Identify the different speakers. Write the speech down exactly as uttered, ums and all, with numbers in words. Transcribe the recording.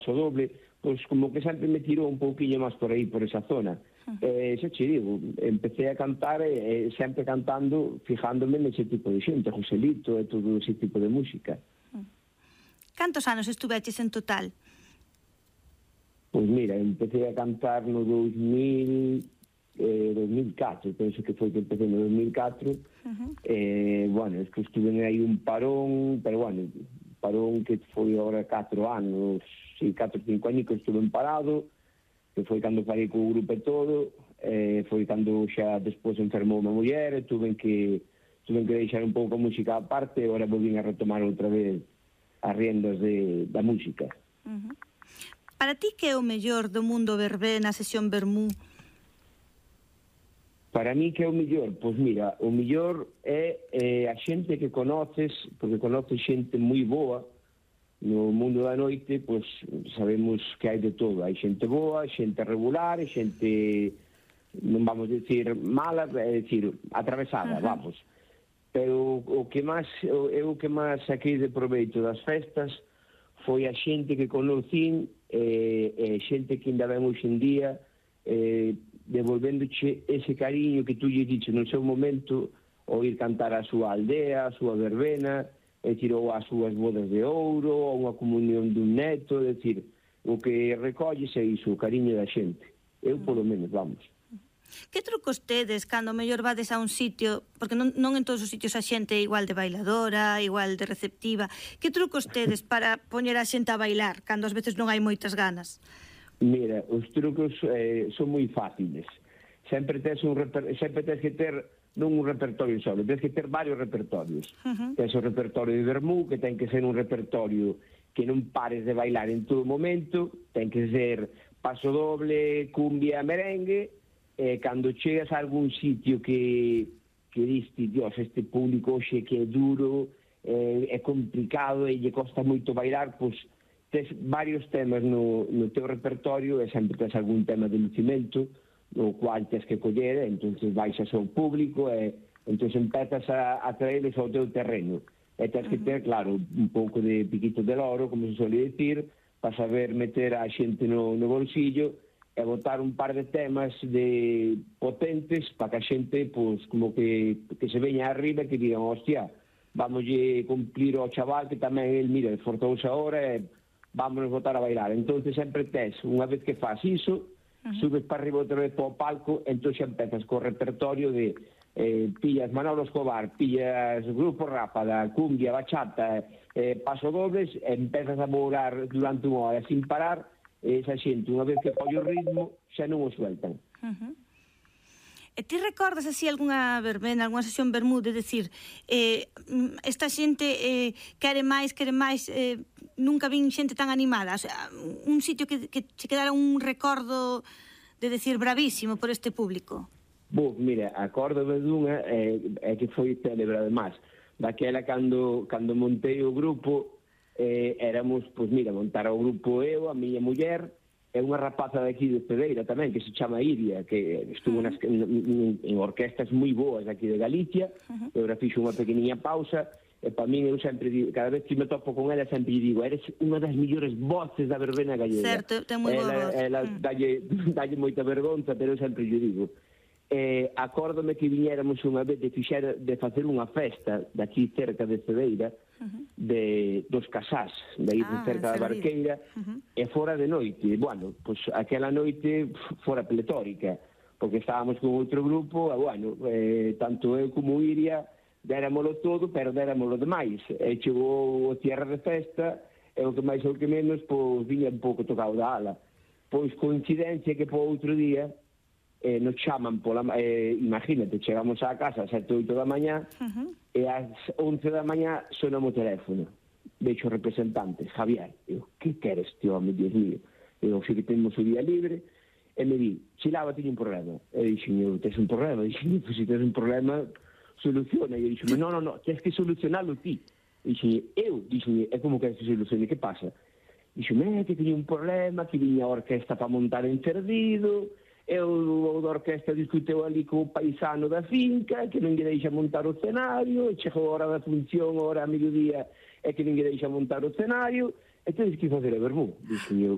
Speaker 1: Paso Doble, pois como que sempre me tirou un pouquiño máis por aí, por esa zona. Uh -huh. eh, xa che digo, empecé a cantar e eh, sempre cantando, fijándome nese tipo de xente, Joselito e todo ese tipo de música.
Speaker 2: Uh -huh. Cantos anos estuveches en total?
Speaker 1: Pois mira, empecé a cantar no dos mil, eh, dos mil catro, penso que foi que empecé no dos mil catro. Uh -huh. eh, bueno, es que estuve aí un parón, pero bueno, parón que foi agora catro anos, si, catro, cinco anos que estuve parado, que foi cando parei co grupo e todo, eh, foi cando xa despois enfermou unha muller, e tuve que tuve que deixar un pouco a música a parte, e agora volvín a retomar outra vez as riendas de, da música.
Speaker 2: Uh -huh. Para ti, que é o mellor do mundo verbé na sesión Vermú?
Speaker 1: Para mí, que é o mellor? Pois mira, o mellor é eh, a xente que conoces, porque conoces xente moi boa. No mundo da noite, pois sabemos que hai de todo. Hai xente boa, xente regular, xente, non vamos decir mala, é dicir, atravesada, uh -huh. vamos. Pero o que máis, eu o que máis saquei de proveito das festas foi a xente que conocín, e eh, xente que ainda ven hoxe en día, eh, devolvéndoche ese cariño que tú lle dices no seu momento, ou ir cantar a súa aldea, a súa verbena, é dicir, ou as súas bodas de ouro, ou unha comunión dun neto, é dicir, o que recolles é iso, o cariño da xente. Eu, polo menos, vamos.
Speaker 2: Que trucos tedes cando mellor vades a un sitio, porque non, non en todos os sitios a xente é igual de bailadora, igual de receptiva, que trucos tedes para poñer a xente a bailar, cando ás veces non hai moitas ganas?
Speaker 1: Mira, os trucos eh, son moi fáciles. Sempre tes un reper... sempre tes que ter non un repertorio solo, tens que ter varios repertorios. Uh -huh. Tens o repertorio de Vermú, que ten que ser un repertorio que non pares de bailar en todo momento, ten que ser paso doble, cumbia, merengue, e cando chegas a algún sitio que, que diste, dios, este público xe que é duro, eh, é complicado e lle costa moito bailar, pois tes varios temas no, no teu repertorio, e sempre tes algún tema de lucimento, no cual tes que coller, entonces baixas ao público, e entonces empezas a, a traerles ao teu terreno. E tes que ter, claro, un pouco de piquito de loro, como se suele decir, para saber meter a xente no, no bolsillo, e botar un par de temas de potentes para que a xente, pois, como que, que se veña arriba e que digan, hostia, vamoslle cumplir ao chaval que tamén el, mira, esforzouse agora e vámonos botar a bailar. Entonces sempre tes, unha vez que faz iso, uh -huh. subes para arriba outra vez para o palco, entón xa empezas co repertorio de eh, pillas Manolo Escobar, pillas Grupo Rápada, cumbia, bachata, eh, paso dobles, e empezas a morar durante unha hora sin parar. Esa xente, unha vez que colle o ritmo, xa non o sueltan.
Speaker 2: Uh -huh. E ti recordas así algunha verbena, algunha sesión Vermú, de decir, eh, esta xente eh, quere máis, quere máis, eh, nunca vin xente tan animada? O sea, un sitio que, que che quedara un recordo de decir bravísimo por este público?
Speaker 1: Bo, mira, acórdome dunha, é eh, que foi célebre además, daquela cando, cando montei o grupo. Eh, éramos, pois mira, montar o grupo eu, a miña muller, e unha rapaza de aquí de Cedeira tamén, que se chama Iria, que estuvo uh -huh. nas, en, en orquestas moi boas aquí de Galicia, uh -huh. e agora fixo unha pequeniña pausa, e para min eu sempre digo, cada vez que me topo con ela sempre digo, eres unha das millores voces da verbena gallega.
Speaker 2: Certo, ten moi boa voz.
Speaker 1: Ela, ela uh -huh. dalle, dalle moita vergonza, pero eu sempre lle digo. Eh, acórdome que viñéramos unha vez de, fixer, de facer unha festa daqui cerca de Cedeira, uh -huh. de dos Casás, de aí ah, cerca da Barqueira, uh -huh. e fora de noite. Bueno, pois pues, aquela noite fora pletórica, porque estábamos con outro grupo, e bueno, eh, tanto eu como Iria déramolo todo, pero déramolo demais. E chegou o cierre de festa, e o que máis ou que menos, pois viña un pouco tocado da ala. Pois coincidencia que po outro día Eh, nos chaman pola, eh, imagínate, chegamos á casa ás sete, oito da mañá, uh -huh. e ás once da mañá sonamos o teléfono, vexo o representante, Javier, eu, que queres, tío, home, Dios mío, eu, xe que temos o día libre, e me di, Chilaba, teño un problema, e dixen, eu, tes un problema, dixen, pues, se tes un problema, soluciona, e eu dixen, no, no, no, tens que solucionalo ti, dixen, eu, dixen, é como que se solucione, que pasa? Dixen, é, que teño un problema, que viña a orquesta para montar en Cerdido, eu o da orquesta discuteu ali co paisano da finca, que non lle deixa montar o escenario, e chegou a hora da función, a hora a mediodía, e que non lle deixa montar o escenario, e tedes que facer a Vermú, dixen eu.